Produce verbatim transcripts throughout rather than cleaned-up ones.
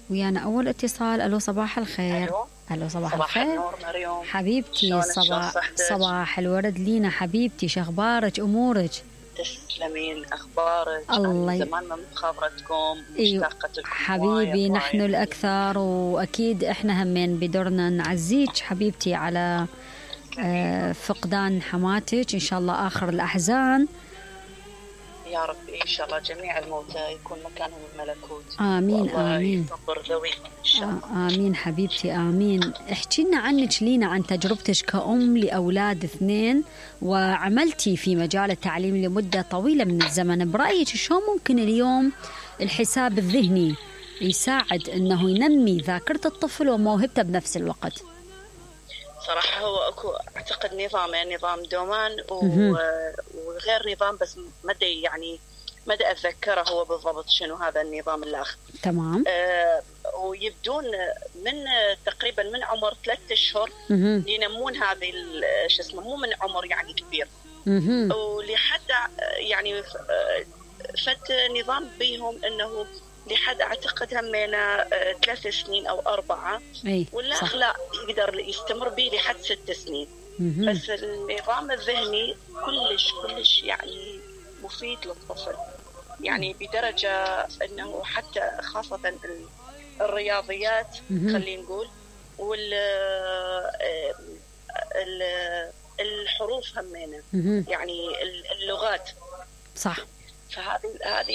ويانا أول اتصال. ألو صباح الخير. ألو, ألو صباح, صباح الخير. النور مريم. حبيبتي صباح صباح الورد لينا حبيبتي، شخبارك أمورك؟ تسلمين، أخبارك؟ الله زمان ما مخابرتكم، مشتاقة لكم حبيبي. نحن الأكثر، وأكيد إحنا همين بدورنا نعزيك حبيبتي على آه فقدان حماتك. إن شاء الله آخر الأحزان يا رب. إن شاء الله جميع الموتى يكون مكانهم الملكوت. آمين آمين. يصبر ذويهم إن شاء الله. آمين حبيبتي آمين. احكي لنا عنك لينا، عن تجربتك كأم لأولاد اثنين، وعملتي في مجال التعليم لمدة طويلة من الزمن. برأيك شو ممكن اليوم الحساب الذهني يساعد أنه ينمي ذاكرة الطفل وموهبته بنفس الوقت؟ صراحة هو أكو أعتقد نظام، يعني نظام دومان وغير نظام، بس مدى يعني مدى أتذكره هو بالضبط شنو هذا النظام الآخر. تمام. آه ويبدون من تقريبا من عمر ثلاثة أشهر ينمون هذه شو اسمه، مو من عمر يعني كبير، ولحد يعني فت نظام بيهم إنه لحد أعتقد همينا ثلاث سنين أو أربعة، والآخ لا يقدر يستمر به لحد ست سنين. مم. بس النظام الذهني كلش كلش يعني مفيد للطفل، يعني بدرجة أنه حتى خاصة الرياضيات خلينا نقول، وال الحروف همينا، يعني اللغات. صح. فهذه هذه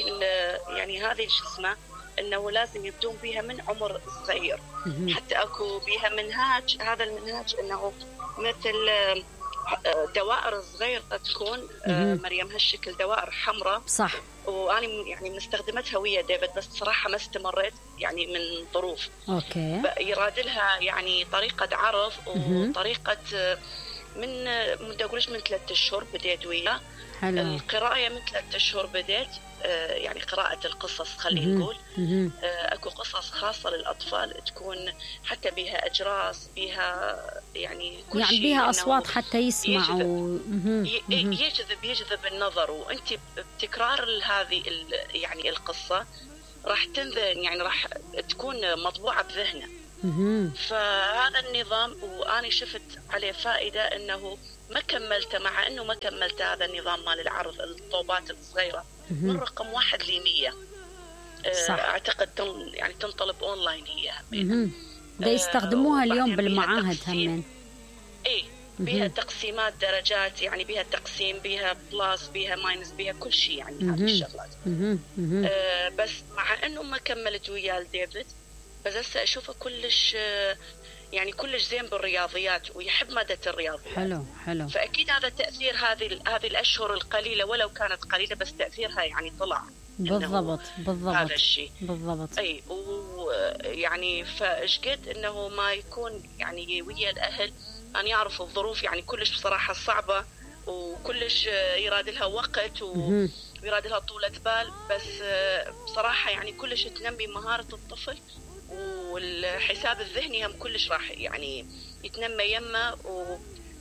يعني هذه شو اسمه انه لازم يبدون بها من عمر صغير. حتى اكو بها منهاج، هذا المنهاج انه مثل دوائر صغيرة تكون مريم هالشكل، دوائر حمراء. صح. وانا يعني مستخدمتها ويا ديفيد، بس صراحة ما استمريت يعني من ظروف. اوكي. يراد لها يعني طريقة عرض وطريقة من ما اقولش من ثلاثة اشهر بديت وياه. حلو. القراءة من ثلاثة أشهر بديت، آه يعني قراءة القصص خلينا نقول. آه أكو قصص خاصة للأطفال تكون حتى بها أجراس، بها يعني كل يعني شيء، بها أصوات حتى يسمعوا. يجذب يجذب, يجذب النظر، وأنت بتكرار هذه يعني القصة راح تنذن، يعني راح تكون مطبوعة بذهنه. فهذا النظام وأنا شفت عليه فائدة، أنه ما كملته، مع أنه ما كملت هذا النظام مال العرض الطوبات الصغيرة من رقم واحد لمية. أعتقد تن يعني تنطلب أونلاين هي. ده يستخدموها اليوم بالمعاهد همين. إيه، بها تقسيمات درجات، يعني بها تقسيم، بها بلاس، بها ماينس، بها كل شيء، يعني هذه الشغلات. آه بس مع أنه ما كملت ويا ديفيد، بس هسه أشوفه كلش يعني كلش زين بالرياضيات ويحب مادة الرياضيات. حلو حلو. فأكيد هذا تأثير هذه هذه الأشهر القليلة، ولو كانت قليلة بس تأثيرها يعني طلع. بالضبط بالضبط. هذا الشيء بالضبط. أي، ويعني فأشقد إنه ما يكون يعني ويا الأهل أن يعرفوا الظروف يعني كلش بصراحة صعبة، وكلش يراد لها وقت ويراد لها طولة بال، بس بصراحة يعني كلش تنمي مهارة الطفل، والحساب الذهني هم كلش راح يعني يتنمى يمه.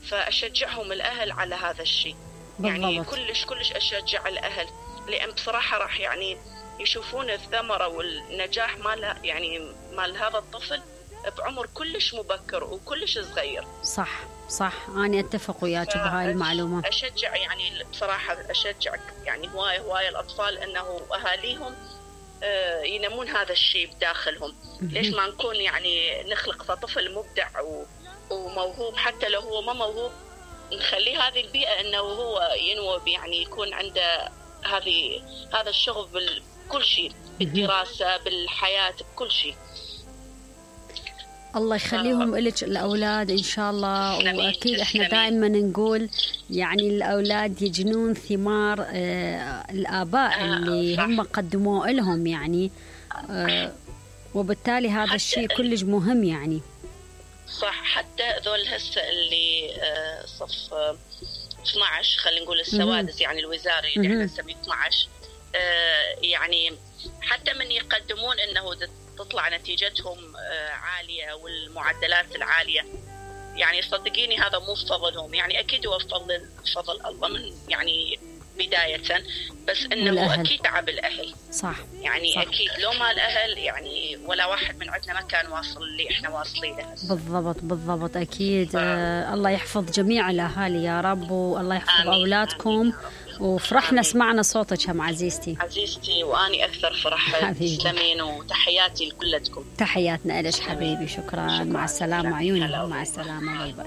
فأشجعهم الأهل على هذا الشيء. يعني كلش كلش أشجع الأهل، لأن بصراحة راح يعني يشوفون الثمرة والنجاح مال يعني مال هذا الطفل بعمر كلش مبكر وكلش صغير. صح صح، أنا أتفق وياك بهاي المعلومة. أشجع يعني بصراحة أشجع يعني هواية هواية الأطفال أنه أهاليهم ينمون هذا الشيء بداخلهم. ليش ما نكون يعني نخلق طفل مبدع وموهوب، حتى لو هو ما موهوب نخليه هذه البيئة أنه هو ينوب، يعني يكون عنده هذه هذا الشغف بكل شيء، بالدراسة بالحياة بكل شيء. الله يخليهم لك الأولاد إن شاء الله. وأكيد إحنا دائما نقول يعني الأولاد يجنون ثمار آه الآباء آه اللي صح. هم قدموا لهم يعني آه وبالتالي هذا الشيء كلش مهم يعني. صح. حتى ذول هسه اللي آه صف آه اثنا عشر خلينا نقول السوادس، يعني الوزاري اللي احنا نسميه اثنا عشر، آه يعني حتى من يقدمون انه تطلع نتيجتهم عالية والمعدلات العالية، يعني صدقيني هذا مو فضلهم، يعني أكيد هو فضل فضل الله من يعني بداية، بس انه والأهل. اكيد تعب الاهل. صح يعني صح. اكيد لو ما الاهل يعني ولا واحد من عندنا ما كان واصل اللي احنا واصلين له. بالضبط بالضبط اكيد. آه الله يحفظ جميع الاهالي يا رب، والله يحفظ آمين. اولادكم. آمين. وفرحنا سمعنا صوتك هم عزيزتي. عزيزتي واني اكثر فرح. حبيبي. تسلمين وتحياتي لكلتكم. تحياتنا لك حبيبي. شكرا, شكرا. مع السلامه عيوني. مع السلامه. باي باي.